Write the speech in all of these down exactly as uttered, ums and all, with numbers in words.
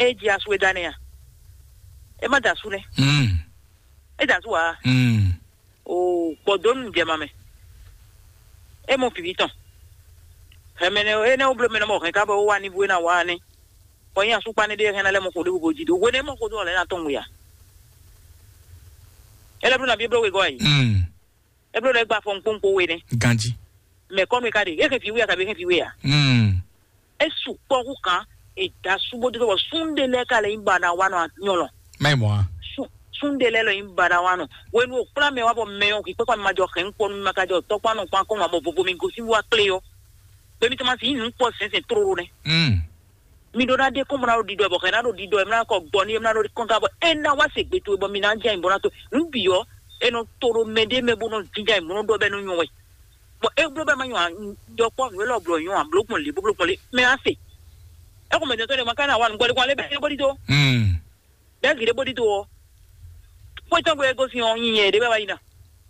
É ji asú é dá nɛ́ a? É má da asú nɛ́. Mm. É da asú ǎ. Mm. O gbɔdɔnu jɛ ma mɛ. É mɔ vǐví tɔn. Hɛmɛ nɛ é nɛ wó bló mɛ nɔ mɔ hɛn ká bɔ wá ní bú é ná wá nɛ́. Bɔ nyí asúkpa nɛ́ ɖé hɛn ná lɛ́ mɔ xo ɖé bó jí dó. Hwenɛ́ mɔ xo dó ɔ́ lɛ́ ná tɔn wia. É lɛ́ bló ná bí é bló wegɔ́ a yě. Mm. É bló lɛ́ gba fɔn kpónkpó we nɛ́. Ganjí. Mɛ kɔ́nu e ka ɖe, é hɛn vǐ we a kabi é hɛn vǐ we a? Mm. É sukpɔ́ hú kan, è da sú bó dó bɔ súnɖe lɛ́ɛ ka lɛ nyí baɖawanɔ nyɔlɔ. Má yi mɔ a? Sú- súnɖe lɛ́ɛ lɔ nyí baɖawanɔ. Hwenu o kplá mɛ wá bɔ mɛ ɔ́ hwi kpɛ́kpá mi ma jɔ hɛn kpɔ́ nú mi ma ka jɔ tɔ́kpá nɔ kpán kɔn wá bɔ vovo mi gosín wá klé ɔ́. Gbemi tɔn ma sin nyí nǔ kpɔ sɛnsɛn tlóló nɛ́. Mm. Mi ɖó ná ɖe kɔn bɔ ná ɖo ɖiɖɔ bɔ hɛn ná ɖo ɖiɖɔ ɛ mlá kɔ gbɔ ní ɛ mlá ɖo kɔn ka bɔ é ná wá se gbe towe bɔ mi ná jɛ nyi bɔ ná to nǔ bǐ ɔ́. É nɔ to ɖo mɛ ɖé mɛ bó nɔ jínjá nyi mɔ̌ nɔ ɖɔ bɔ é nɔ nyɔ wɛ. Bɔ é bló bɔ é ma nyɔ ǎ, ɖɔ kpɔ́ nǔ élɔ́ blɔ nyɔ ǎ, bló gbɔn lě bó bló gbɔn lě mɛ á se. É xɔ mɛ dɔn tɔn ɖé ma ka ná wa nǔgbɔ ɖé kɔn lé bɛ é bó ɖi tó. Mm. Bɛ gǐ ɖé bó ɖi tó ɔ́. Xwé tɔn gbé gosín ɔ́ nyi nyɛ ɖé bɛ wá yi ná.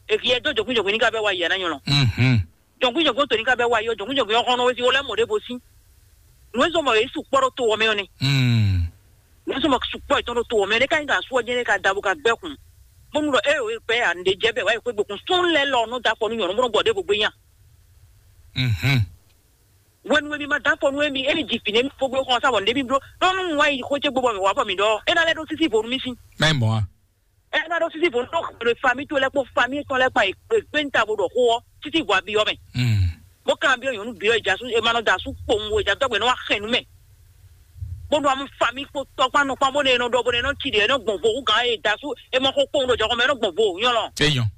Èkì yɛ dó jɔkún jɔkún ní ká bɛ wá yi ná nyɔlɔ. Mhm. Jɔkún jɔkún tó ní ká bɛ wá yi ɔ́, jɔkún jɔkún ɔ́ xɔnɔ wé sí wó lɛ́ mɔ ɖěvo sí. Nǔ e zɔ́n mɔ yě sukpɔ́ ɖó to ɔ́ mɛ ɔ́ nɛ. Mm. Nǔ e zɔ́n mɔ sukpɔ́ yětɔn ɖó to ɔ́ mɛ ɔ́ nɛ ká nyí kan asú ɔ́ jɛ́n nɛ ka da bó ka gbɛ́ kun. Bónú ɖɔ é o é kpɛ ya nǔɖé jɛ bɛ wá yi xwé gbekun sún lɛ́ lɔ nɔ da afɔ nú nyɔ̌nu bó nɔ gbɔ ɖěvo gbé nya. Mhm. Hwenu e mi ma dán afɔ nú émi, émi ji fǐ nú émi fó gbé xɔ sá bɔ nǔɖé mi bló. Ɖó nú un wá yi xwé ce gbó bɔ mǐ wá bɔ mǐ ɖɔ é ná lɛ́ ɖó sísí vo nú mì sín. Má yi mɔ a? É ná ɖó sísí vo nú ɖó xwé famí towe lɛ́ kpó famí tɔn lɛ́ kpó e gbé ta bo ɖɔ xó ɔ́, sísí vo abi ɔ́ mɛ. Mm. Bó kan byɔ́ nyɔ̌nu byɔ́ e jasú e ma nɔ da asú kpowun e jadɔgbe nɔ wá xɛn nú mɛ. Bó nɔ amú famí kpó tɔkpán nukpán bó nɔ e nɔ ɖɔ bó nɔ e nɔ ci ɖe e nɔ gbɔn vo hú gǎn e da asú e mɔ xó kpowun ɖo jɔxɔ mɛ e nɔ gbɔn vo nyɔlɔ. Eyɔn.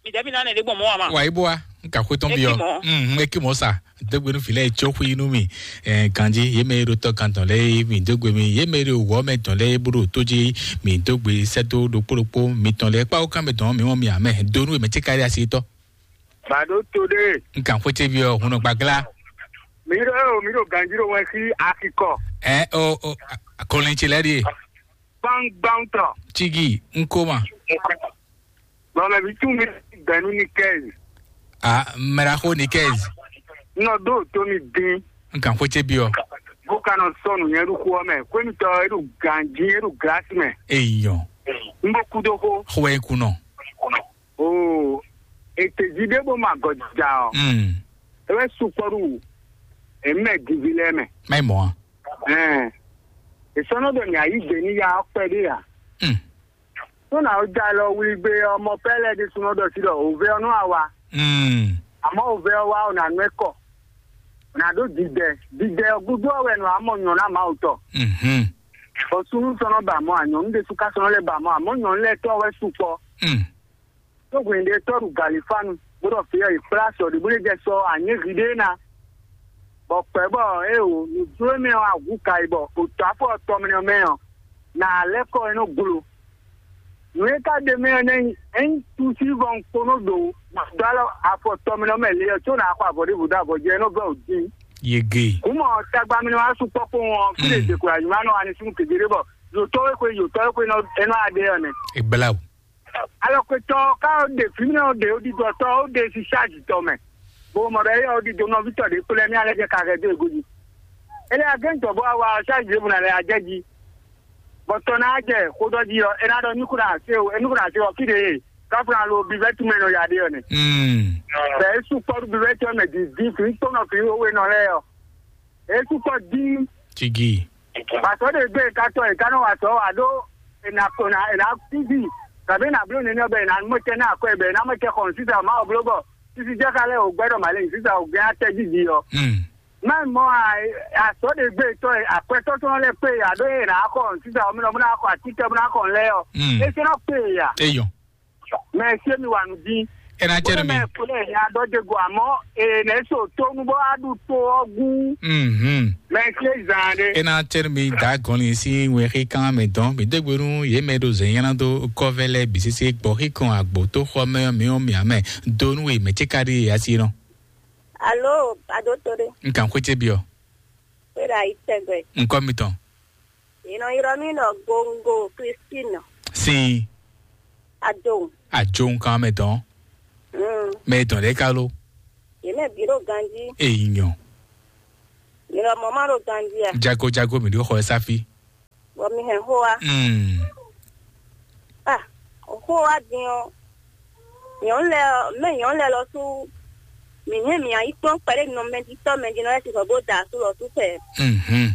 Mi dɛbi na nɛ ɖe gbɔn mɔ wa ma. Wa ibo wa, n ka xwe tɔn bi ɔ. Eki mɔ. Mm, eki mɔ sa. Dogbe nu filɛ tso xwi nu mi. Eh, ganji ye mɛ ɖo tɔ kan tɔn lɛ mi dogbe mi ye mɛ ɖo wɔ mɛ tɔn lɛ bro to ji mi dogbe sɛto ɖokpo ɖokpo mi tɔn lɛ kpawo kan mɛ tɔn mi mɔ mi amɛ donu mɛ ti kari asi tɔ. Bado to ɖe. N ka xwe tse bi ɔ hunɔ gbagla. Mi ɖo eo mi ɖo ganji ɖo wɛn sí akikɔ. Ɛ o o kɔlɛn tse lɛ ɖi. Gbangban tɔ. Tigi n ko ma. Bɔmɛbi tún mi gbɛnu ni kɛzi. A mɛraxo ni kɛzi. Nɔ ɖo to mi dín. N kan xwé tse bi ɔ. Bó ka nɔ sɔnu nyɛ ɖo xó ɔ́ mɛ. Xwé mi tɔ e ɖo ganji e ɖo glasi mɛ. Eyɔ. N bó kú dó xó. Xwé kunɔ. Oo, ètè jí ɖé bó ma gɔjija ɔ. Mm. E wɛ sukpɔɖu. Èmi mɛ divi lɛ mɛ. Má yi mɔ a. Ɛn. Èsɔnɔ ɖɔ ní ayí gbè ní ya ɔkpɛ ɖé ya. Mm. Tó nà ó já lɔ wlí gbé ɔmɔ pɛ́lɛ ɖésúnɔ ɖɔ sí ɖɔ òvé ɔ́ nú àwa. Mm. Àmọ́ òvé ɔ́ wá ɔ̀nà nú ẹ kɔ. Nà ɖó dìdɛ. Dìdɛ ɔ́ gúdú ɔ́ wɛ nɔ àmọ́ nyɔ̌ ná Mawu tɔ. Mhm. Bɔ súnú sɔnɔ ba mɔ ànyɔ̌nú ɖésú ká sɔnɔ lɛ ba mɔ àmọ́ nyɔ̌nú lɛ tɔ́ wɛ sukpɔ. Mm. Tó hwɛ̌n ɖé tɔ́ ɖu galifánu, bó ɖɔ fǐ ɔ́, è kplá sɔ ɖě bó lɛ́ jɛ sɔ anyěhwi ɖé ná. Bɔ kpɛ̌ bɔ é o nǔjló mɛ ɔ́ ahu ka yi bɔ òtɔ́ afɔ tɔmlɛ mɛ ɔ́, nǎ lɛ́ kɔ é nɔ glo. Nǔ e ka ɖe mɛ ɔ́ nɛ́ nyí ényí túsí vɔ un kpónó ɖo dó alɔ afɔ tɔmlɛ mɛ le ɔ́, có nǎ xɔ avɔ ɖěvo dó avɔ jɛ é nɔ vɛ ò dín. Yege. Kú mɔ tagba mi nɔ wá sukpɔ́ kpowun ɔ́, fí ɖe Mm. dě kula nyuma nɔ wá ní súnnu kegbe ɖé bɔ yǒtɔ́ e xwe yǒtɔ́ e xwe nɔ é nɔ adé ɔ́ nɛ. Ìgbéláwò. Alɔkwetɔ ká ó ɖe fǐmɛ ó ɖe ó ɖiɖɔ tɔ ó ɖe si ṣáàjì tɔ mɛ. Bó mɔ ɖɔ éyɔ ó ɖiɖɔ nɔví tɔ ɖě kplɔ́ mì alɛ jɛ ka hɛ dó ego jí. Ele agɛn tɔ bó wa ṣáàjì ɖěbǔ na lɛ ajɛ jí. Bɔ tɔ ná jɛ xó ɖɔ jí ɔ, é ná ɖɔ nukún ná se o, é nukún ná se ɔ fí ɖe e káfíńlá lo bivɛtu mɛ nɔ ya ɖe ɔ nɛ. Mm. Bɛ é sukpɔ́ ɖu bivɛtu ɔ mɛ dǐndín fǐ kpɔ́nɔ fǐ wéwé nɔ lɛ́ɛ ɔ. É sukpɔ́ dín. Tigi. Pàtó ɖe gbé katɔ e kanɔ wa tɔ wa ɖo ena kona ena titi. Kabe na blo nene bɛ na mo tɛ na kɔ bɛ na mo tɛ xɔn sisa ma o blo bɔ. Sisi jɛ ka lɛ o gbɛ dɔ ma le sisa o gbɛ atɛ didi ɔ. Mm. Mɛ mɔ a asɔ ɖe gbé tɔ e akwɛtɔ tɔn lɛ kpe ya ɖo e na xɔn sisa o mi lɔ mo na xɔ ati tɛ mo na xɔn lɛ ɔ. Mm. E sɛ na kpe ya. Eyɔ. Mɛ se mi wa nu din. Ena cɛ mi. Mɛ kule ya dɔ de go amɔ e ne so to nu bɔ a du to ɔgu. Mhm. Mɛ se zan de. Ena cɛ mi da gɔnli si wɛ xi kan mɛ dɔn mi de gbenu ye mɛ do zɛnyana do kɔvɛ lɛ bisese gbɔ xi kan agbo to xɔ mɛ mi o mi amɛ do nu e mɛ ce ka di asi nɔ. Alo, adotore. N kan xwete biɔ. Wera itɛgbɛ. Nkɔ mi tɔn. Ino iro mi nɔ gongo Christine. Sin. Adon. Ajo nkan mɛ dɔn. Mm. Mɛ dɔn lɛ kalo. Ye mɛ bi ɖo ganji. Eyi nyɔ. Mi nɔ mɔ ma ɖo ganji a. Jago jago mi ɖo xɔ safi. Mi hɛn xó wa. Mm. Ah, xó wa din ɔ́. Nyɔ̌nu lɛ́ɛ ɔ́, mɛ nyɔ̌nu lɛ́ɛ lɔ sú mǐ hɛn mǐ yi kplɔ́n kpɛɖé nɔ mɛjitɔ́ mɛjinɔ lɛ́ɛ sixɔ bó da asú lɔ sú fɛ. Mhm.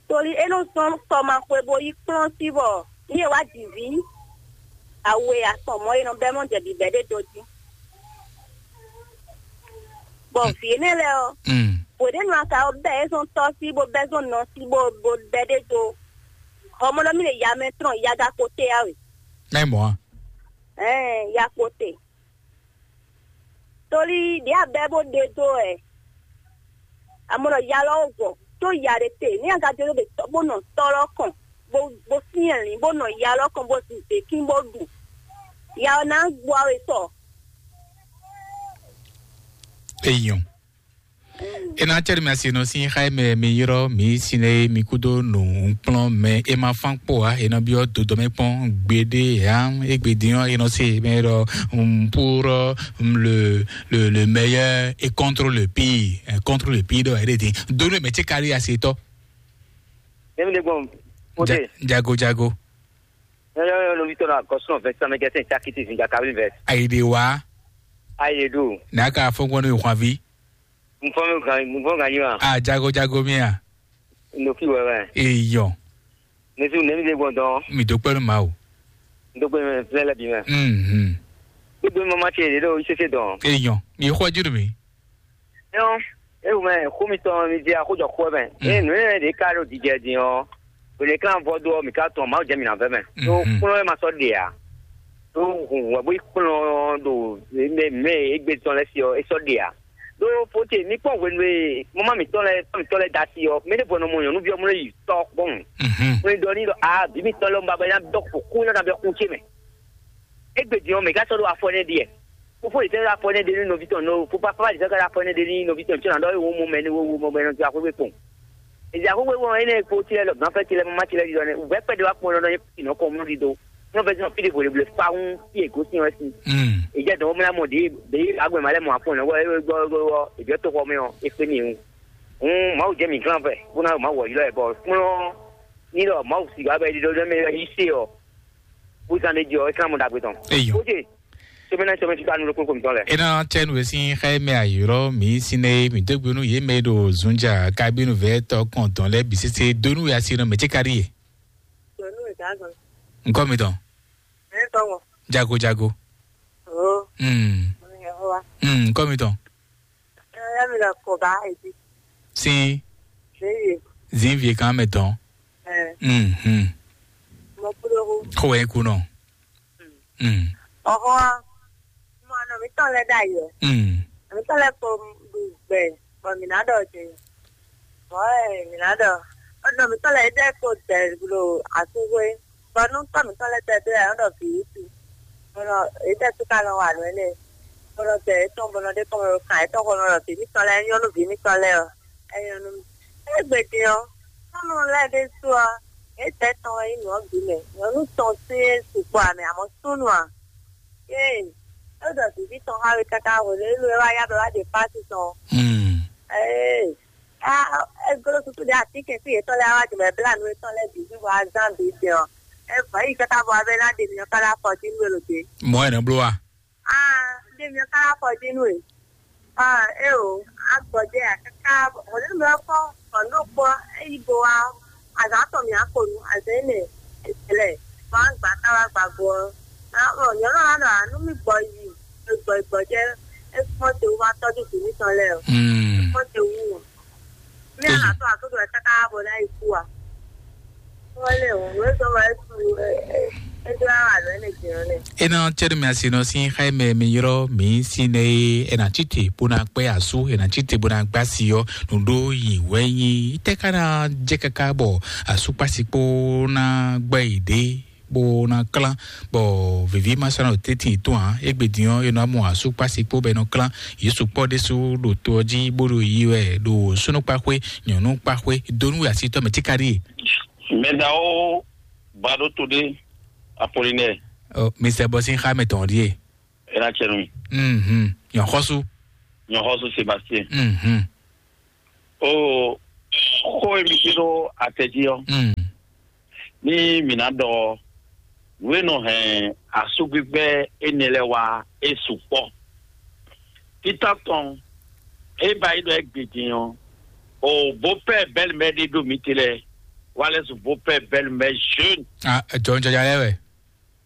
Tóli é nɔ sɔ́ kɔmaxwe bó yi kplɔ́n sí bɔ ní e wá jǐ vǐ awe atɔn mɔ̌ e nɔ bɛ́ mɔ jɛ bǐbɛ́ ɖé dó jí. Bɔ vǐ énɛ́ lɛ́ɛ ɔ́, Mm. Wěɖénu aka ɔ́ bɛ́ é zɔn tɔ́ sí bó bɛ́ zɔn nɔ sí bó bó bɛ́ ɖé dó. Hɔmɔɖɔ mì ɖe ya mɛ tɔn ya ga kpo te ya we. Mɛ mɔ̌ a? Ɛɛ, ya kpo te. Tóli ɖě a bɛ́ bó ɖe dó ɛ. Amɔ ɖɔ ya lɔ wɔ tó ya ɖe te. Ní a ga jɛ ɖo ɖe tɔ́ bó nɔ tɔ́ lɔ kɔn bó bó syɛ́n lǐn bó nɔ ya lɔ kɔn bó zun zěkín bó ɖu. Ya ɔ́ ná gbɔ we sɔ. Eyɔn. E na cɛ mi asi nɔ sin xa mɛ mi yrɔ mi sine mi kudo nu kplɔn mɛ e ma fan kpɔ a e nɔ biɔ dodɔ mɛ kpɔn gbede ya e gbede yɔ e nɔ se mɛ ɖɔ um, pour um, le, le, le meilleur et contre le pire, euh, contre le pire ɖɔ e ɖe din donu mɛ tse kari asi tɔ. Emi de gbɔn. Ote. Jago jago. Yɔyɔ yɔ lobi tɔ na gɔsɔn vɛsɛ mɛ gɛsɛn cakiti zinga kabili vɛ. Ayi de wa. Ayi de do. N'a ka fɔ gbɔn ne hwavi. Nfɔ mi gan nfɔ gan yi wa. A jago jago mi a. Ndoki wɛ wɛ. Eyɔ. Nesu nemi de gbɔn dɔn. Mi do kpɛnu ma o. Ndogbe mɛ filɛ lɛ bi mɛ. Mhm. Gbogbo mama ce de do isese dɔn. Eyɔ. Mi xɔ juru mi. Ɛn, ewu mɛ xó mitɔn mi di axójɔ xó mɛ. Mm. Eye nǔ e ɖe ka ɖo dijɛ din ɔ́, wele kan vɔ do ɔ́, mi ka tɔn Mawu jɛ mi na vɛ mɛ. Tó Mhm. kplɔ́n e ma sɔ́ ɖe ǎ. Tó hun wɛ bó yi kplɔ́n ɖo mɛ mɛ egbe tɔn lɛ si ɔ́, é sɔ́ ɖe ǎ. Ɖó fóte mi kpɔ́n hwenu e mama mitɔn lɛ tɔn mitɔn lɛ da si ɔ́, mɛ ɖé bɔ nɔ mɔ nyɔ̌nuví ɔ́ mlɔ́ yi tɔ kpɔ́n. Mhm. Wọ́n ɖɔ ní ɖɔ a bí mitɔn lɛ ń ba bɔ nya dɔ kó kú nya dɔ kú ce mɛ. Egbe din ɔ́, mɛ ká sɔ́ ɖó afɔ nɛ́ ɖiɛ. Fofó yě sɛ́ ɖó afɔ nɛ́ ɖe ní nɔví tɔn nɔ, fó pápá yě sɛ́ ká ɖó afɔ nɛ́ ɖe ní nɔví tɔn tɔn nɔ ɖɔ wó mɔ mɛ ní wó wó mɔ mɛ ní wó ti axwé kpɔn. Èdè axwé wó ɛnɛ kpo ti lɛ lɔ gánfɛ ti lɛ mama ti lɛ ɖiɖɔ nɛ wǔvɛ kpɛɖé wá kpɔn lɔ nɔ nyɛ nɔ kɔn mɔ ɖiɖɔ. Ní wọ́n fẹ́ sínú fídíò vòlè blè fáwọn tí ègó sí wọn sí. Mm. Èdè dɔn wọ́n mla mɔ ɖě ɖě agbɛ̀mà lɛ mɔ àpò náà wọ́ ẹ gbọ́ gbọ́ gbọ́ èdè tó xɔ mɛ ɔ é fẹ́ ní ìhun. Ń Mawu jẹ́ mi gán fẹ́ kó ná Mawu wọ̀ yí lɔ ẹ̀ bọ̀ kplɔ́n ní lɔ Mawu sì wá bɛ ɖiɖɔ mɛ yí sé ɔ. Bó zan ɖé jɛ ɔ é kán mɔ ɖagbe tɔn. Eyɔ. Ó jẹ́ sɛmɛ náà sɛmɛ fífa nu lókun kò mi tɔn lɛ. Ena tsɛnu esi xɛ mɛ ayɔrɔ mi sine mi dógbenu yé mɛ ɖo zunja kabinu vɛ tɔ kɔntɔn lɛ bi sese donu ya si nɔ mɛ tse kari ye. Donu ya gan. Nkɔ mi tɔn. Ɛ tɔwɔ. Jago jago. Oh. Hmm. Mo ní ẹ wá. Hmm. Nkɔ mi tɔn. Ẹ yá mi lọ kọ bá èdè. Sin. Ṣé yé? Zinvie kan mɛ tɔn. Ẹ. Hmm. Hmm. Mo kúrò. Kó wẹ́ kú nɔ. Hmm. Ọ̀hún wa, mo àná mi tán lẹ́ dà yẹ. Hmm. Àmì tán lẹ́ kó gbẹ, bọ̀ mí ná dọ̀ jẹ. Bọ̀ ẹ̀ mí ná dọ̀. Ọ̀nà mi tán lẹ́ dẹ́ kó dẹ̀ lo àtúnwé. Bọ̀ nú tán mi tán lẹ́ dẹ́ dẹ́ ẹ̀ ọ̀nà bìí tu. Bọ̀nà èyí tẹ́ tún ká lọ wà lóyún lẹ̀. Bọ̀nà tẹ̀ ẹ̀ tán bọ̀nà dé kọ́ mọ̀ kàn ẹ̀ tán kọ́ lọ bìí mi tán lẹ́ nyɔ́nú bìí mi tán lẹ́ ɔ. Ẹ̀ nyɔ́nú mi. Ẹ̀ gbèdé ɔ. Nyɔ́nú lẹ́ dé sú ɔ. Èyí tẹ́ tán ẹ̀ nyɔ́nú bìí mẹ́. Nyɔ́nú tán sí ẹ̀ sùpọ̀ àmì àmọ́ súnú à. Ee, é ɖɔ vǐví tɔn xá we káká hwenu e é wá yá bɔ é wá ɖe pasi tɔn. Hmm. Ee, a é glo susu ɖe atínkɛn sí yětɔn lɛ́ɛ wá jɛ mɛ bla nú yětɔn lɛ́ɛ bǐ bɔ azán bǐ jɛ ɔ. É vɔ yi káká bɔ abɛ ná ɖe mi ɔ́ ká ná fɔ jí nú e lǒ dé. Mɔ̌ è nɔ bló wa? Aa, ɖe mi ɔ́ ká ná fɔ jí nú e. Ah, é o, a gbɔjɛ a kaka hɔn nínú mi ɔ́ kpɔ́n hɔn ɖó kpɔ́ é yi bo wá azǎn tɔn mǐ á ko nu azǎn énɛ́ lɛ bɔ á gba ká wá gba go ɔ́. Ná ɔ nyɔ̌nu ɔ́ ná ɖɔ ǎ nú mì gbɔ yi e gbɔ yi gbɔjɛ é kpɔ́n te wú wá tɔ́jú vǐ mǐtɔn lɛ́ɛ o. Hmm. Kpɔ́n te wú o. Mí á nà tɔ́ àtúntò ɛ káká bɔ ná yi kú a. Wọ́n lè wọ́n ló sọ wá é tu é é é dó àwọn àlọ́ ẹ̀ lè jẹun lẹ̀. Ena tsɛɖumi asi nɔ sín xá mɛ mi yrɔ mi sín nɛ e ena tsite bó na kpɛ asu ena tsite bó na gbá si ɔ nuɖo yi wɛ nyi tɛ ka na jɛ kaka bɔ asu kpasi kpo na gbɛ yi ɖe bó na klán bɔ vivi ma sɔnna tete tó hàn égbé diɔ e nɔ mɔ asu kpasi kpo bɛ nɔ klán yesu kpɔ ɖésú ɖo to ɔ dzi bó ɖo yi wɛ ɖo súnú kpaxwé nyɔnu kpaxwé donu asitɔ mɛ tikaɖi. Mɛdawo Baɖo Toɖé Apolinɛ. Ɔ, Mister Bɔsin xa mɛ tɔn ɖie. Ena tsɛ nu. Mhm. Nyɔxɔsu. Nyɔxɔsu Sebastien. Mhm. O xó e mi ɖe ɖo atɛ jí ɔ. Mm. Ní mǐ ná ɖɔ ɔ́, nǔ e nɔ hɛn asúgbígbɛ́ énɛ́ lɛ́ɛ wá é sukpɔ́. Títá tɔn, é ba yi ɖɔ égbé din ɔ́, o beau-père belle-mère ɖé ɖo mǐ te lɛ́ɛ, wá lɛ́ su beau-père belle-mère jeune. Ah, jɔnjɔnjɔ lɛ́ɛ wɛ.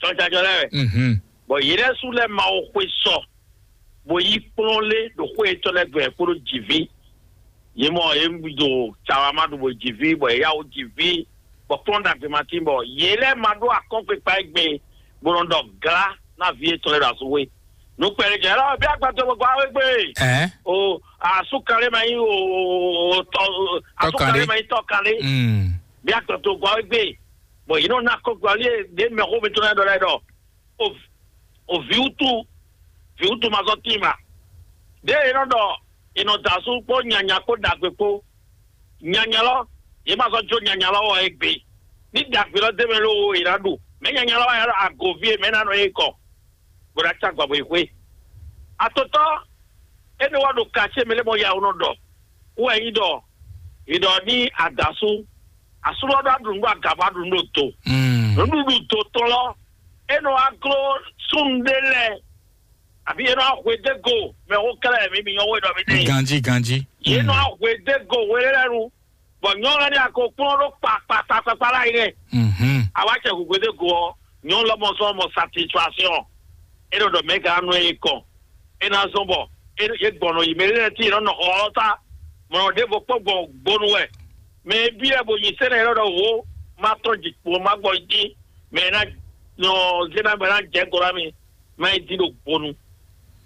Jɔnjɔnjɔ lɛ́ɛ wɛ. Mhm. Bɔn yě lɛ́ɛ sú lɛ́ ma wo xwe sɔ, bó yí kplɔ́n lé ɖo xwé yětɔn lɛ́ɛ gbe kpódó jǐví. Yě mɔ yě ɖo cawa ma ɖu bó jǐví, bɔ yě yá wó jǐví, bɔ kplɔ́n ɖagbe ma tín, bɔ yě lɛ́ɛ ma ɖó akɔ́nkpekpa égbé, bó nɔ ɖɔ glá ná vǐ yětɔn lɛ́ɛ ɖo azɔ̌ wé. Nukpɛ́nɛjɛ lɔ bí agbadɔ gbogbo awé gbé. Ɛɛ. O asú kan lé ma nyí o o o tɔ o asú kan lé ma nyí tɔ kan lé. Mm. Bí agbadɔ gbogbo awé gbé. Bɔn yě nɔ ná akɔ́nkpekpa lé ɖé mɛ xó mi tɔn lɛ́ɛ ɖɔ lɛ́ɛ ɖɔ o o vǐwútu vǐwútu ma zɔ́ tín ma. Ɖěe è nɔ ɖɔ è nɔ da asú kpó nyanya kpó ɖagbe kpó. Nyanya lɔ, yě ma zɔ́ jó nyanya lɔ wɔ égbé. Ní ɖagbe lɔ dé mɛ lóo è nǎ ɖu. Mɛ̌ nyanya lɔ wá nyanya lɔ agoví e mɛ̌ ná nɔ é kɔ, bó ná cá gbɔ bó yi xwé. Atotɔ énɛ́ wá ɖo kacyé mɛ lé mɔ ya nɔ ɖɔ. Wú wɛ nyí ɖɔ è ɖɔ ní adǎsú asú lɔ ɖó aɖu nǔ ɖo aga bó aɖu nǔ ɖo do. Mm. Nǔɖuɖu do tɔn lɔ, é nɔ wá gló súnnu ɖé lɛ́ɛ, àbí é nɔ wá hwedégo mɛ xó kɛlɛ mi mi nyɔ́ wé ɖɔ mi ní. Ganjí, ganjí. Yě nɔ wá hwedégo wé lɛ́ɛ nu, bɔ nyɔ́ lɛ́ɛ ní akokplɔ́n ɖó kpakpakpakpakpa láyi nɛ́. Mhm. Awácɛ hwedégo ɔ́, nyɔ́ lɔmɔ sɔ́ mɔ satisfaction. É nɔ ɖɔ mɛ̌ gǎn nú ɛ kɔn. É ná zɔ́n bɔ é é gbɔn nɔ yi mɛ lɛ́ɛ tí è nɔ nɔ xɔ ɔ́ ta. Mɔ̌ ɖěvo kpɔ́ gbɔn gbonu wɛ. Mɛ e byɔ́ ɛ bo nyi sɛ́nɛ élɔ́ ɖɔhun ó, má tɔ́n jǐkpo má gbɔ jí, mɛ e ná nɔ zé ná mɛ ná jɛ gɔ́ ná mì, má yi dín ɖo gbonu.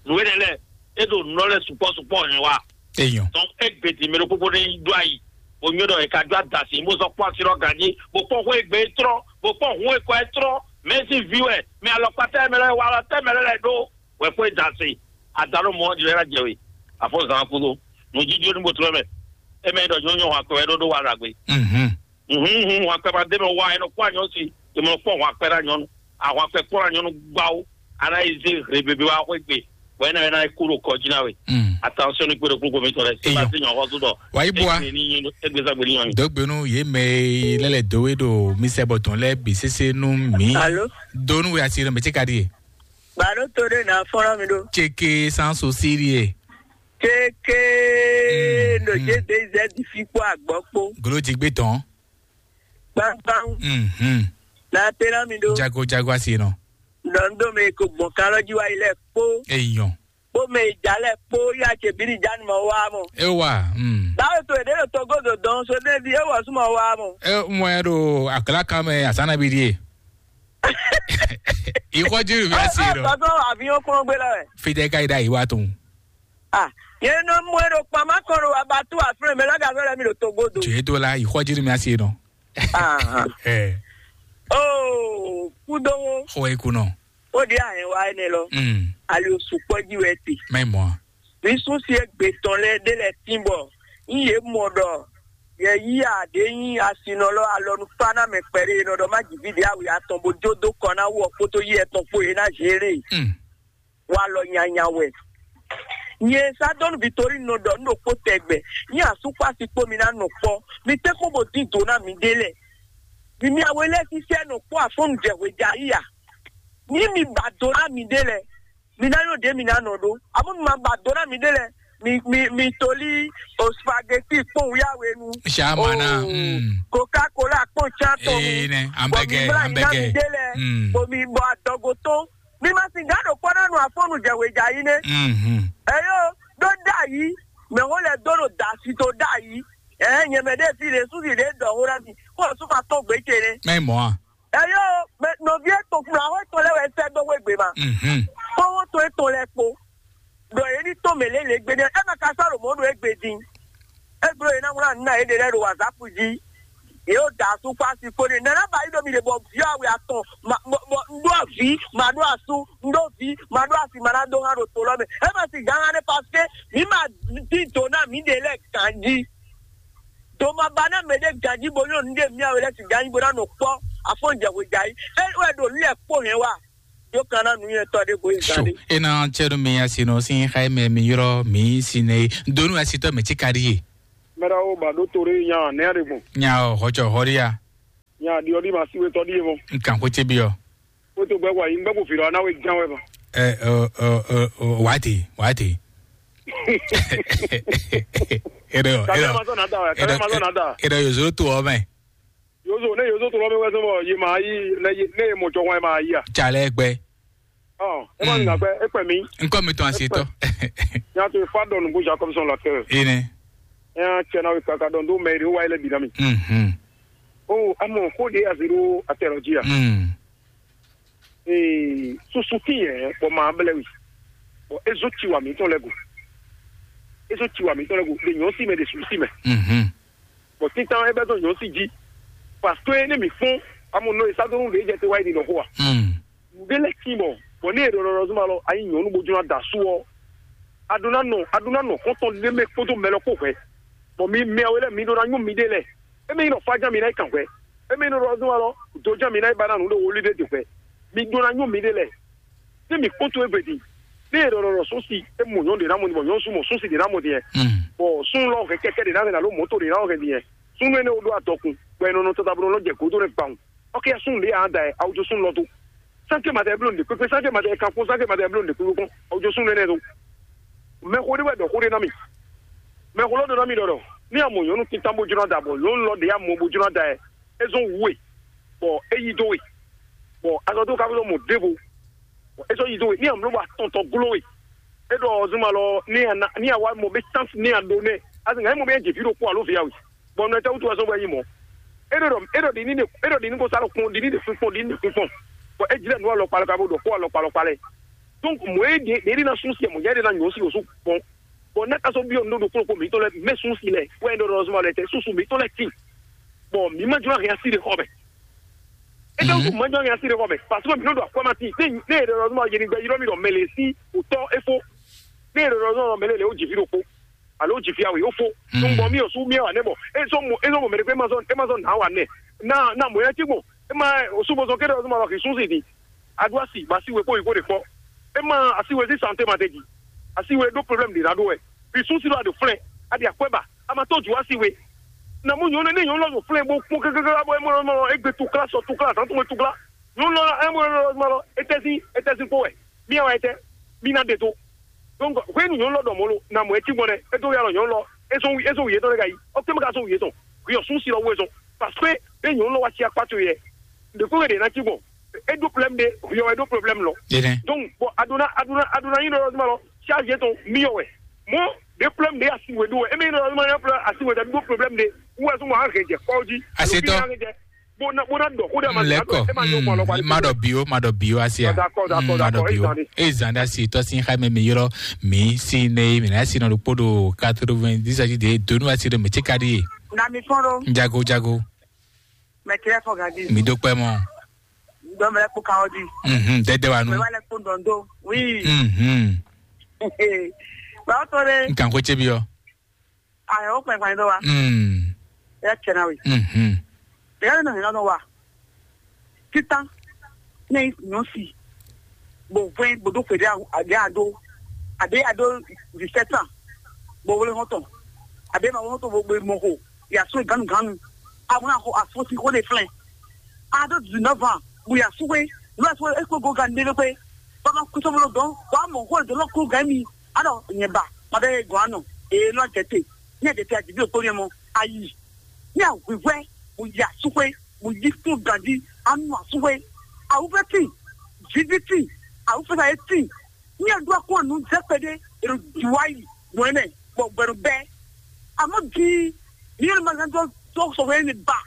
Nǔ énɛ́ lɛ́ɛ, é ɖo nǔ lɛ́ɛ sukpɔ́ sukpɔ́ hɛn wá. Eyɔn. Tɔn égbé din mɛ ɖokpó bó ní ɖó ayi, bó nyɔ́ ɖɔ è ka jó adasi, bó sɔ́ kpɔ́n asi ɖɔ ganjí, bó kpɔ́n xó égbé é trɔ́n, bó kpɔ́n hun e kɔ é trɔ́n, mɛ sín vǐ wɛ, mɛ alɔkpatá mɛ lɛ́ɛ wá alɔ tɛ́ mɛ lɛ́ɛ lɛ́ɛ ɖó, wɛ kpó é da se, adalo mɔ ɔ́ ɖi lɛ́ɛ ná jɛ we, afɔ zan kúdó, nǔjíjó ní bó tlɔ́ mɛ, é mɛ ɖɔ nyɔ́nyɔ́ hɔn akpɛ wɛ ɖó ɖó wa ɖagbe. Mhm. Hǔn hǔn hɔn akpɛ ma d'é mɛ wá, é nɔ kpɔ́n anyɔ́ si, é mɔ kpɔ́n hɔn akpɛ ná nyɔ́nu, ahɔn akpɛ kpɔ́n ná nyɔ́nu gbáwó, a ná yi zé hre bebe wá xwé gbe, bɔ é ná é ná kú ɖo kɔ jí ná we. Mm. Attention ní kpé ɖo kúkú mi tɔn lɛ, Eyɔn. Sébastien nyɔ́n xɔ́sú tɔ. Wàyí bua. Égbé ní nyí égbé zagbe ní nyɔ́nu. Dǒgbénu yě mɛ lɛ́ lɛ dǒ wé ɖo mi sɛ bɔ tɔn lɛ́ bǐ sésé nú mǐ. Alo. Donu wɛ asi ɖo mɛ tí ka ɖíe. Bàdó tó ɖé nà fɔ́nrán mi ɖó. Ceke sanso síríe. Ceke Mm, no mm. Jé de zɛ di fi kpó àgbɔ kpó. Golo ti gbé tɔn. Gbangban. Mhm. Na tẹ́lá mi ɖó. Jago jago asi nɔ. Dɔn dó mi kò gbɔn kan lɔ jí wá yi lɛ kpó. Eyɔn. Kpó mɛ ìjà lɛ kpó yá cɛ bí ní ìjà ni mɔ wá mɔ. E wa. Mm. Báwo tó èdè lè tɔgó dò dɔn so dé di ewɔ súnmọ́ wá mɔ. E mɔ ẹ ɖo àkàlà kan mɛ àsánà bí díè. Ìkọ́jú mi á sí rọ. Tọ́tọ́ àfihàn kúrò gbé lọ rẹ̀. Fíjẹ́ ká ìdá ìwà tó ń. Ah, yẹn nọ mú ẹ ɖo kpamá kɔ ɖo abattoir aflɛ mɛ lɔgà fẹlẹ mi ɖo togodo. Jɛ do la ìkɔjiri mi asi nɔ. Ah. Ɛ. Oh, kudo. Xɔ eku nɔ. O de a yẹn wa ẹnẹ lɔ. Mm. Ali o sukpɔ ji wɛ ti. Mɛ mɔ. Mi sún si egbe tɔn lɛ de lɛ tin bɔ n ye mɔ ɖɔ yɛ yi a de nyi asinɔ lɔ alɔnu fa na mɛ kpɛɖe nɔ ɖɔ ma ji vi de awi atɔn bo jo do kɔ na wɔ kpoto yi etɔn kpo ye na zere. Mm. Walɔ nyanya wɛ. Nyɛ Sadɔnu Vitorine nɔ ɖɔ nú ɖokpó tɛgbɛ, nyɛ asúkpási kpó mi ná nɔ kpɔ́, mi tɛ́ xó bo dín dǒ ná miɖée lɛ́ɛ. Mi mi awe lɛ́ɛ sísɛ́ nɔ kpɔ́ afɔ́nnu jɛ hwejayi a? Ní mi ba do ná miɖée lɛ́ɛ, mi ná nyɔ́ ɖě mi ná nɔ ɖó. Amɔ̌ mi ma ba do ná miɖée lɛ́ɛ, mi mi mi tolí o spaghetti kpó wíyáwenu, Shamana, o mm. Coca-Cola kpó tsán tɔn Ee, ne, bɔ mi hamburger, mlá nyi ná hamburger. Miɖée lɛ́ɛ, Mm. Bɔ mi bɔ adɔgo tɔn. Mi ma sin gǎn ɖo kpɔ́ ná nu afɔ́nu jɛ wěja yi nɛ́. Mhm. Eyo, ɖó ɖ'ayǐ, mɛ xó lɛ dó ɖo da asi tó ɖ'ayǐ. Ɛɛ, nyɛ mɛ ɖé fi ɖé súnsi ɖé dɔ xó ná mi, kó o sún ma tɔn gbě ce nɛ́. Mɛ mɔ a? Eyo, mɛ nɔví e tɔn kplá xó tɔn lɛ́ wɛ sɛ́ dó xwé gbě ma. Mhm. Kpó xó tɔn e tɔn lɛ́ kpó. Ɖɔ yě ní tɔn mɛ lě lě gbe nɛ́, é ma ka sɔ́ ɖo mɔ̌ ɖo égbé din. É bló yě ná wlán nǔ ná yě ɖe lɛ́ɛ ɖo WhatsApp jí. Yě ɖo da asú kpó asi kpó n'i. Nɛ̌ ná ba yí ɖo mi ɖe bɔ vǐ awe atɔn, ma, bɔ, bɔ un ɖó avǐ, ma ɖó asú, un ɖó vǐ, ma ɖó asi, ma ná dó hán ɖo to lɔ mɛ. É ma sin gǎn hán nɛ́, parce que mǐ ma dín do ná mǐɖée lɛ́ɛ ganjí. Do ma ba ná mɛɖé ganjí bo nyɔ́ nǔɖé mǐ awe lɛ́ɛ sin ganjí bo ná nɔ kpɔ́ afɔ́n jɛ hwejayi. É wɛ ɖo nǔ lɛ́ɛ kpó hɛn wá. Yó kan ná nǔnywɛ́tɔ́ ɖé bo yi So, gán ɖé. E na cɛ ɖo mi asi nɔ sin xa mɛ mi yrɔ mi si ne. Donu asi tɔ mɛ ti ka ɖi ye. Mɛɖawo ba ɖó to ɖé nya nɛ́ ɖe gbɔn. Nya ɔ, hɔjɔ hɔria. Nya ɖi ɔ́ ɖi ma si wetɔ ɖi e mɔ. N kan xwé ce byɔ. Wetɔ gbɛ wa yi gbɛ ko fi ɖɔ na we gán wɛ ma. Ɛ ɔ ɔ ɔ ɔ wá te wá te. Eɖe ɔ Kàdé eɖe ma sọ nà da wɛ, kàdé ma sọ nà da. Eɖe yòzó tó ɔ mɛ. Yozo ne yozo tó lɔ mi wɛ sọ bɔ ye ma yi ne ye ne ye mɔ jɔhɔn ye ma yi a. Tsa lɛ gbɛ. Ɔ ɛ ma ŋa gbɛ e kpɛ mi. Nkɔ mi tɔn asi tɔ. Nya to fa dɔn nubu Jacob sɔn la kɛ. Ene. Nya cɛ na we kaka dɔn do mɛ ri wa yi lɛ bi na mi. Mhm. O amɔ ko de asi ɖo atɛ lɔ dzi a. Mm. Ee, susu tín yɛ bɔ ma blɛ wi. Bɔ ezo tsi wa mǐtɔn lɛ go. Ezo tsi wa mǐtɔn lɛ go. De nyɔ̌ si mɛ de susu si mɛ. Mhm. Bɔ títán é bɛ́ dó nyɔ̌ si jí. Parce que ne mǐ fɔ́n amɔ nɔ e sá dó nú ɖě jɛ te wá yi ɖi nɔ xó a. Mm. Nǔɖé lɛ́ tín bɔ bɔ ní e ɖɔ ɖɔ zuma lɔ ayi nyɔ̌nu bó jló ná da asú ɔ́, a ɖó ná nɔ a ɖó ná nɔ xɔ́ntɔn ɖé mɛ kpódó mɛ lɔ kpó hwɛ̌. Bɔ mi mɛ we lɛ́ɛ mi ɖó ná nyú miɖée lɛ́ɛ. Émí nɔ fá ján mi ná yi kan hwɛ̌. Émí nɔ ɖɔ zuma lɔ do ján mi ná yi ba ná nǔ ɖo woli ɖé de hwɛ̌. Mi ɖó ná nyú miɖée lɛ́ɛ. Ní mǐ kpɔ́n towe gbe din, ní è ɖɔ ɖɔ sɔ́si é mɔ nyɔ̌nu ɖě ná mɔ din, bɔ nyɔ̌nu sú mɔ sɔ́si ɖě ná mɔ din, bɔ súnnu lɔ hɛn kɛkɛ ɖě ná hɛn alo mɔ̌to ɖě ná hɛn din, súnnu énɛ́ wo ɖó adɔkun, bɔ è nɔ nɔ tata bó nɔ jɛ gǒdo nɛ́ gbawun. Ɔ́ kɛ súnnu ɖě ǎ da ɛ, awu jó súnnu lɔ dó. Sánkè ma tɛ bló nǔɖé kpékpé, sánkè ma tɛ kan kpɔ́n, sánkè ma tɛ bló nǔɖé kpékpé kpɔ́n, awu jó súnnu énɛ́ dó. Mɛxó ɖé wɛ ɖɔ xó ɖé ná mì. Mɛxó lɔ ɖɔ ná mì ɖɔ ɖɔ, ní a mɔ nyɔ̌nu títán bó jló ná da, bɔ nyɔ̌nu lɔ ɖě a mɔ bó jló ná da ɛ, é zɔ́n wú we, bɔ é yí dó we, bɔ azɔ̌ dó ka fó mɔ ɖěvo. É sɔ́ yi dó we ní amló wa tɔn tɔn gló we. É ɖɔ zuma lɔ ní a na ní a wá mɔ bé chance ní a ɖó nɛ. Asi ŋa é mɔ bé jɛ fí ɖokpó alo vǐ awe. Bɔ nɔ tɛ wútu wɛ sɔ́ bɔ é yi mɔ. É ɖɔ é ɖɔ ɖi ní ɖe é ɖɔ ɖi ní ko sá lɔ kpɔn ɖi ní ɖe fún kpɔn ɖi ní ɖe fún kpɔn. Bɔ é jlɛ nú alɔkpa lɔ ka bó ɖɔ kó alɔkpa lɔkpa lɛ. Donc mɔ é ɖe ɖe ɖi na sún si mɔ yɛ ɖe na nyɔ si o sún kpɔn. Bɔ ne ka sɔ́ byɔ́ nǔɖuɖu kplɔ́kpɔ mǐtɔn lɛ mɛ sún si lɛ wɛ ɖɔ ɖɔ zuma lɛ tɛ susu mǐtɔn lɛ tin. Bɔ mǐ ma jló ahɛn asi ɖe xɔ mɛ. Étɛ́ wútu mɔ̌ jɔ nya sí ɖe xɔ mɛ? Parce que mǐ nɔ ɖo akwɛ́ ma tín. Né né è ɖɔ ɖɔ yě ní gbɛ ylɔ́ mì ɖɔ mɛ lě sí wǔtɔ́ é fó. Né è ɖɔ ɖɔ mɛ lě lě ó jǐ fí ɖokpó alo ó jǐ fí awe ó fó. Nǔgbɔn mì ɔ́ sú mì wà nɛ́ bɔ é zɔ́ mɔ é zɔ́ mɔ mɛ ɖé kpé ma zɔ́ é ma zɔ́ nǎ wà nɛ́. Ná ná mɔ̌ yá tí gbɔn é ma sú bó zɔ́n kéɖé ɔ́ zɔ́ ma wá xi sú sì din. Adó asi ba sí we kpó yi kó ɖe kpɔ́. É ma asi we sí santé ma tɛ ji. Asi we ɖó problème ɖě ná ɖó wɛ. Xi sú sí ɖo aɖo flɛ́ aɖi akwɛ́ ba. A ma tɔ́ jǔ wá sí we. Na mú nyɔ̌nu énɛ́ nyɔ̌nu lɔ ɖo flɛ́ bó kpɔ́n kákáká bɔ é mɔ mɔ é gbé tukla sɔ tukla zǎn tɔn tukla. Nyɔ̌nu lɔ é mɔ lɔ mɔ lɔ étɛ́ sín étɛ́ sín kpó wɛ. Mí wá étɛ́ mí ná ɖe tó. Donc hwenu nyɔ̌nu lɔ ɖɔ mɔ̌ lo na mɔ é cí gbɔn ɖɛ é dó ya lɔ nyɔ̌nu lɔ é zɔn é zɔn wǔyé tɔn ɖé ka yi ɔ́ kpé mɛ ka zɔn wǔyé tɔn. Hwi ɔ́ sún sí lɔ wú é zɔn. Parce que é nyɔ̌nu lɔ wá cí akpá towe yɛ. Ɖě kpé wɛ ɖě ná cí gbɔn. É ɖó problème ɖé hwi ɔ́ wɛ ɖó problème lɔ. Donc bɔn aduna aduna aduna yín ɖɔ ɔ́ zuma lɔ charge tɔn mí ɔ́ wɛ. Mɔ ɖé problème ɖé asi wɛ ɖó wɛ émi ɖɔ ɔ́ zuma yín asi wɛ ɖó problème ɖé wɛ zuma á hɛn jɛ kpɔ́ jí. Asetɔ. Bona bona dɔ ko de ma Leko. Ema yo kwa lo kwa. Ma dɔ bio ma dɔ bio asia. D'accord, d'accord, Ma dɔ d'accord, bio ezan. Ezan da si tɔ sin xa me mi yɔrɔ mi si ne mi na si no kpo do quatre-vingt-dix aji de donu asi do mi tse kadi. Na mi fɔn ɖo Jago jago. Mɛ kiri fɔ gadi. Mi do kpɛ mɔ. Dɔmɛ lɛ kpo kawo di. Mhm dede wa nu. Mɛ wa lɛ kpo dɔndo. Oui. Mhm. Ba o to de. Nkan ko tse bi ɔ. Ayɔ o kpɛ kpɛ do wa. Mm. Ya tsɛ na we. Mhm. Ya no hina no wa. Titan. Ne nyɔ si. Bo vɛn bo do kwe de a de a do. A de a do dix-sept ans. Bo wole hɔntɔn. A de ma wole hɔntɔn bo gbe mɔ ko. Ya so ganu ganu. A mo na ko a fo si ko de flɛn. A do dix-neuf ans. Bo ya so we. Lo so e ko go gan de ko. Ba ma ko so bo lo don. Wa mo ko do lo ko gan mi. A do nye ba. Ma de go ano. E lo tete. Ní ẹ̀dẹ̀ tí a jì bí òpó yẹn mọ́, a yì. Ní àwíwẹ́, mo yà súwé, mo yí fún gàdí, a nù àsúwé. Àwùfẹ́ tì, jìbí tì, àwùfẹ́ sàyé tì. Ní ẹ̀dùn akún ànú jẹ́ pẹ́dé, èrò jùwá yìí, mọ̀ ẹ́ mẹ́, bọ̀ gbẹ̀rù bẹ́ẹ̀. Àmọ́ di, ní ẹ̀rọ máa ń tó sọ̀rọ̀ ẹni bà.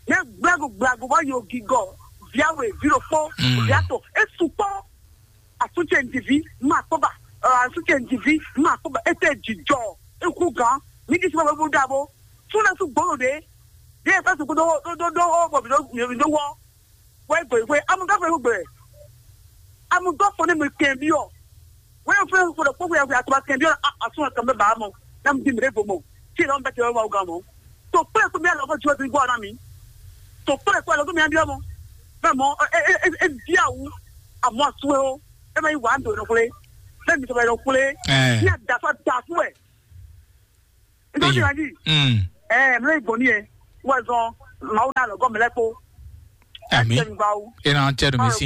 Ní gbàgbọ́ gbàgbọ́ wá yóò gígọ̀, bíáwé, bírò pọ́, bíátò, é sùpọ́. Asúntsɛ ŋdivi ma kpɔba, asúntsɛ ŋdivi ma kpɔba. Ete jijɔ eku gan mi di sima bɛ bu dabo. Suna su gbolo de de efa su do do do o bɔ mi do mi do wɔ. Wɛ gbe gbe amu gafe gbe amu dɔ fɔ ne mi kɛn bi ɔ. Wɛ fɛ fɔ dɔ kpɔkpɔ ya fɛ atuma kɛn bi ɔ. Asun kan bɛ ba mɔ na mi di mi de bo mɔ. Tí ìlànà bẹ́ẹ̀ ti wá wá gan mọ́. Tó pé kó mi àlọ́ kó ju ọdún gbọ́ ọ̀nà mi. Tó pé kó àlọ́ kó mi àbí ọmọ. Bẹ́ẹ̀ mọ ẹ ẹ ẹ ẹ bí àwù àmọ́ àsúwé o. Ẹ máa yí wà á dòdò kúlé. Bẹ́ẹ̀ mi sọ̀rọ̀ ẹ̀rọ kúlé. Ẹ. Ní àdàfà dà fún ẹ̀. Nítorí Eyín. Ìrìnàjì. Mm. Ẹ ẹ mi lóye gbòó ní ẹ. Wọ́n ẹ zọ Mawu ná lɔ gɔmɛ lɛ kpo. Ami. Tɛnu bawu. Ena tɛnu mi si.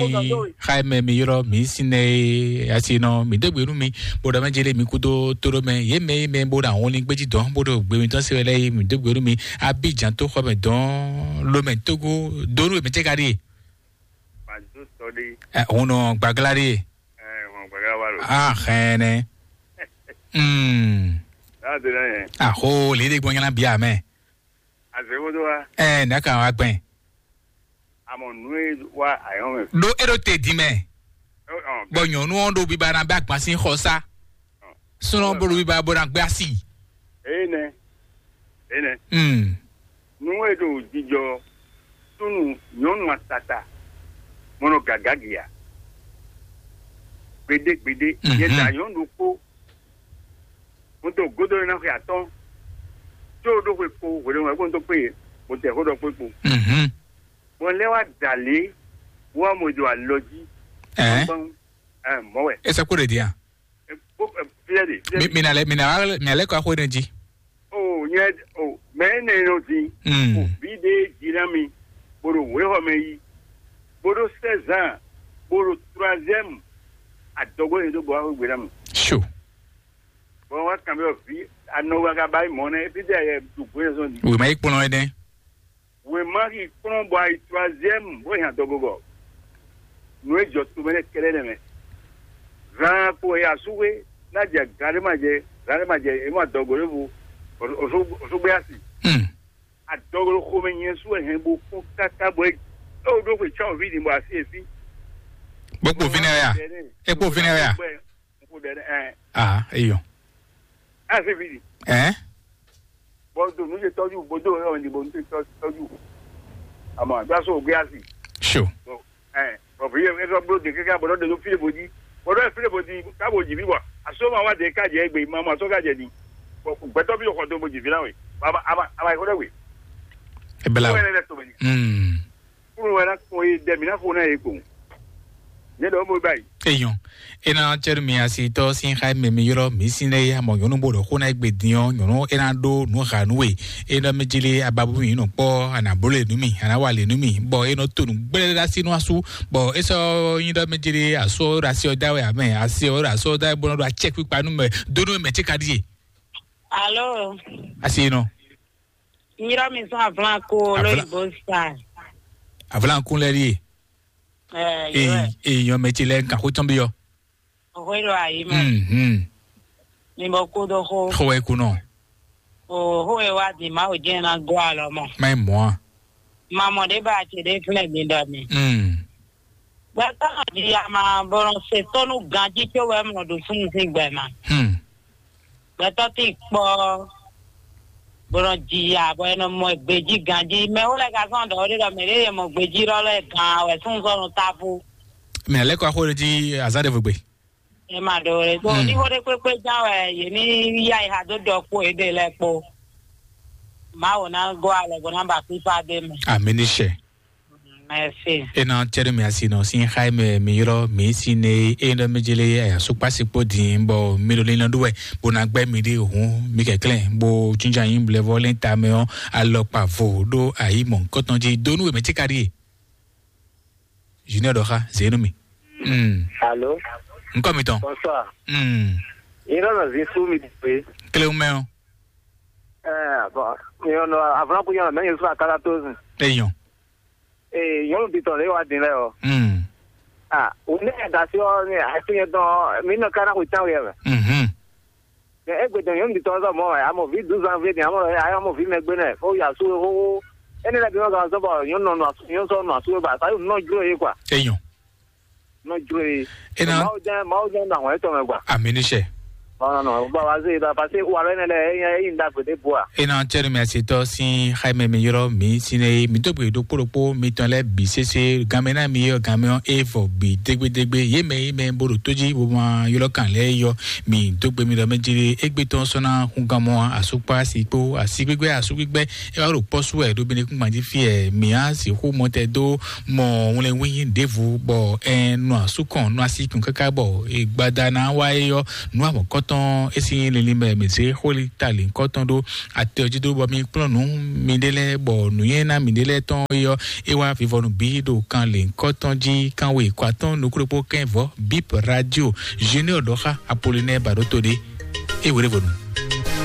Xayi mɛ mi yɔrɔ mi si nɛ asi nɔ mi degbe nu mi. Bodo mɛ jele mi kudo toro mɛ ye mɛ ye mɛ bodo awon ni gbeji dɔn bodo gbe mi tɔn se wɛ lɛ ye mi degbe nu mi. Abidjan to xɔ mɛ dɔn lo mɛ togo donu mɛ tɛ ka di. Madzo tɔ ɖe. Ɛ hun nɔ gbagla di. Ɛ hun gbagla wa lo. Ah xɛnɛ. Hmm. N'a de na yɛ. Aho le de gbɔnyala bia mɛ. Azɛwodo wa. Ɛ n'a ka wa gbɛn. Amɔ nu e wa ayɔn mɛ. Ɖo e ɖo te di mɛ. Bɔ nyɔnu ɔn ɖo biba na bɛ agban sin xɔ sa. Sunɔ bolo biba bo na gbé asi. Eye nɛ. Eye nɛ. Hmm. Nu e ɖo jijɔ tunu nyɔnu atata mɔnɔ gagagi a. Gbede gbede. Mhm. Yɛ da nyɔnu ɖokpo. Mo to godo na xɛ atɔn. Tso ɖo xwe kpo hwele ŋu ko to kpe. Mo tɛ xo ɖɔ kpe kpo. Mhm. Bon lɛ wa dali. Wa mo jo alɔ ji. Eh. Bon, eh, mɔ wɛ. Esa ko de dia. Fiɛ de. Mi na lɛ mi na mi na lɛ ko axwe ne ji. O nyɛ o mɛ ne no di. Mm. O bi de ji na mi. Boro we xɔ mɛ yi. Boro seize ans. Boro troisième. Adɔgbo ne do bo axwe gbe na mi. Sure. Bon wa kan bɛ vi anɔ wa ka ba yi mɔ ne. Ebi de yɛ du gbe zɔn di. Wema yi kplɔn ɛ dɛ. Wěma xi kplɔ́n bɔ ayi troisième bó hɛn adɔgɔgɔ. Nǔ e jɔ tomɛ lɛ́ɛ kɛ́ɖɛ́ nɛ́ mɛ. Zan kpo e asúwe ná jɛ gan ɖé ma jɛ gan ɖé ma jɛ e mɔ adɔgɔ ɖěvo. Osúgbé asi. Hmm. Adɔgɔ xomɛ nyɛ sú wɛ hɛn bo kún káká bɔ é ó ɖó xwe tsɔ́n òví din bɔ asi e fí. Bó kpo fínɛ́ ya. É kpo fínɛ́ ya. Nkú dɛ ɛ. Ah, eyɔ. Asi fí di. Ɛ. Bɔ do nu se tɔju bo do yɔ ni bo nu se tɔju. Ama gba so gbe asi. Sure. Ɛ bɔ fi ye e sɔ blo de keke bɔ de no file bo di. Bɔ de file bo di ka bo ji bi bɔ. Aso ma wa de ka jɛ gbe ma ma so ka jɛ di. Bɔ gbɛtɔ bi xɔ do bo ji vi na we. Ama ama ama ko de we. E bela. Ko ne to be ni. Mm. Kúrò wɛ ná kpɔn yé dɛ mǐ ná xo ná yě kpowun. Nyɛ ɖɔ mo báyìí. Eyɔn. Ena cɛɖu mi asitɔ sin xa mɛ mi yɔrɔ mi sin lɛ ya mɔ nyɔnu bo ɖɔ xó ná egbe din ɔ nyɔnu ena ɖó nu ha nu we. Ena mi jili ababu mi nɔ kpɔ ana bolo le nu mi ana wa le nu mi bɔ enɔ to nu gblɛ ɖe asi nu asu bɔ esɔ nyi ɖɔ mi jili asu ɔ ɖo asi ɔ da wɛ amɛ asi ɔ ɖo asu ɔ da wɛ bɔ nɔ ɖo atsɛ kpikpa nu mɛ do nu mɛ tsi ka ɖi ye. Alo. Asi nɔ. Nyirɔ mi sɔn avlan ko Avlan- lóyìnbó sa. Avlan kun lɛ ɖi ye. Ɛ Ee, yɛ. Ee, nyɔ mɛ tsi lɛ nka xó tɔn bi yɔ. Oxo ɖo ayi mɛ. Mhm. Mi bɔ kú do xó. Xó wɛ kunɔ. O xó e wa di ma o jẹ́ na gɔ alɔ mɔ. Ma yi mɔa. Ma mɔ ɖe ba ce ɖe flɛ mi ɖɔ mi. Mm. Gbɛtɔ di ama bɔlɔ se tɔnu ganji tso wɛ mɔ ɖo funu sin gbɛ ma. Hmm. Gbɛtɔ ti kpɔ bɔlɔ jiya bɔ enɔ mɔ gbeji ganji mɛ wo lɛ ka sɔn dɔ wo ɖe dɔ mɛ ɖe ye mɔ gbeji lɔ lɛ gan wɛ sunzɔnu tafu. Mɛ lɛ kɔ axo ɖe ji azan ɖe vegbe. E ma ɖo wɛ so Hmm. ni wo ɖe kpekpe jan wɛ ye ni ya yi ha do dɔ kpo e ɖe lɛ kpo. Mawu na go alɔ go na ba fifa de mɛ. Amini sɛ. Merci. Ena cɛɖe mi asi nɔ sin xa mɛ mi yɔrɔ mi si ne e nɔ mi jele aya sukpasi kpo din bɔ mi ɖo lina ɖo wɛ bo na gbɛ mi ɖe hun mi kɛklɛ bo tsintsa yin blɛvɔ lɛ ta mɛ ɔ alɔkpa vo ɖo ayi mɔ nkɔtɔn ji donu wɛ mɛ tsi ka ɖi ye. Junior ɖɔ xa zenu mi. Mm. Alo, Nkɔ mi tɔn. Bonsoir. Mm. Yín lọ́nà zin sú mi dìgbé. Kele mɛ o. Ẹ bọ̀, ìyọ̀nà àfúrákú yọ̀nà mẹ́yìn sún àkàrà tó sùn. Eyɔn. Ee, yọ̀nù bìtọ̀ lè wá dín lẹ́ o. Mm. Ah, òun ní ẹ̀dá sí ọ ní àìsí yẹn dán mí nà ká náà kò tán wẹ̀ rẹ̀. Mhm. Ẹ gbẹdẹ yọ̀nù bìtọ̀ sọ mọ́ ẹ̀ àmọ̀ ví dùn zanvier ni àmọ̀ ẹ̀ àmọ̀ ví mẹ́gbẹ́ náà ó yà sú ó. Ẹni lẹ́bi wọn kà sọ bọ̀ yọ̀nù nọ yọ̀nù sọ nù àsúwé bá sáyò nọ júlò yìí kwa. Eyɔn. Nɔ jlo ye. Ena- Mawu jɛn Mawu jɛn na hɔn etɔn mɛ gba. Amini sɛ. Ɔnɔ nɔ ba wa se da parce que wa lɛ ne lɛ eyin eyin da gbede bua. Ena cɛri mi asi tɔ sin xaime mi yɔrɔ mi sin ne mi dogbe ɖokpo ɖokpo mi tɔn lɛ bi sese game na mi yɔ game ɔ evɔ bi degbe degbe ye mɛ ye mɛ bo ɖo to ji bo ma yɔrɔ kan lɛ yɔ mi dogbe mi ɖɔ mɛ jere egbe tɔn sɔna hun gamɔ asukpa asi kpo asi gbigbe asu gbigbe e wa ɖo kpɔsu ɛ ɖo bene kungban ji fi ɛ mi asi xo mɔ tɛ do mɔ wlɛnwin ɖěvo bɔ ɛ nɔ asukɔn nɔ asi kun kaka bɔ egbada na wa e yɔ nɔ amɔkɔtɔ tɔn é sín linlin mɛ mǐ zé xwé ta lěnkɔ́tɔn ɖó atɛ ɔ́ jí dó bɔ mi kplɔ́n nǔ miɖée lɛ́ɛ, bɔ nǔnywɛ́ ná miɖée lɛ́ɛ tɔn é ɔ́, é wá vivɔnu bǐ ɖo kan lěnkɔ́tɔn jí, kanwe kɔ atɔ́ɔ́n nukúɖokpó kɛ́n vɔ̌ bip radio. Junior ɖɔxa Apollinaire Baɖoto ɖé. É wěɖévɔnu.